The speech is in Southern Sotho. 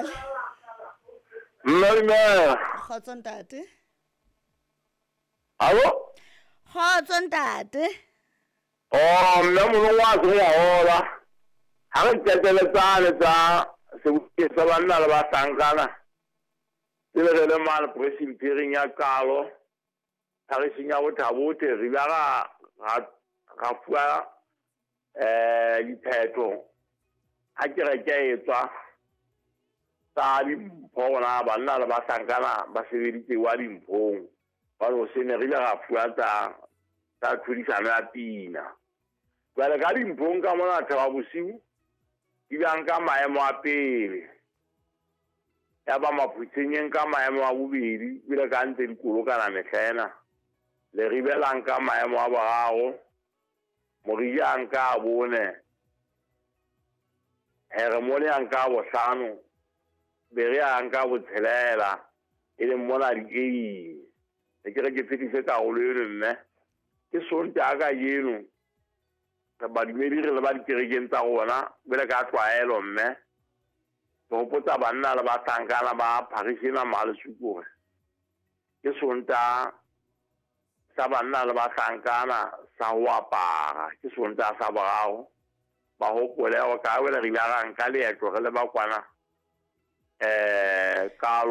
Dumela. Mme dumela. Kgotso ntate. Alo? Kgotso ntate. Oh, mme molong wa se wa hola. Ha re qetele tsane tsa sebokeng sa banna le bahlankana. Pele re le mane presbyterieng ya Qalo, pharising ya Bothabothe, re ile ra ra ra fuwa eh diphetho ha kereke e tswa tsa dimpho gona banna le bahlankana ba sebeditse wa dimphong. Jwale hoseng re ile ra fuwa tsa tsa tlhodisano ya pina. Jwale ka dimphong ka mona Thaba Bosiu di bang ka maemo a pele. Ya ba Maphutshenyeng ka maemo a bobedi, ebile ka ntse dikolokana mehla ena. Leribe la nka maemo a boraro, Morija a nka a bone, Heremone a nka a bohlano, Berea a nka a botshelela, e leng mona dikeing. Ne ke re ke fetise karolo eno mme ke Sontaha kajeno re badumedi re le ba dikerekeng tsa rona bele ka tlwaelo mme ke hopotsa banna le bahlankana ba pharishe ena Malesuku hore ke Sontaha sa banna le bahlankana sa ho apara, ke Sontaha sa boraro. Ba hopole hore ka wele re ile ra nka leeto re le ba kwana eh kalo.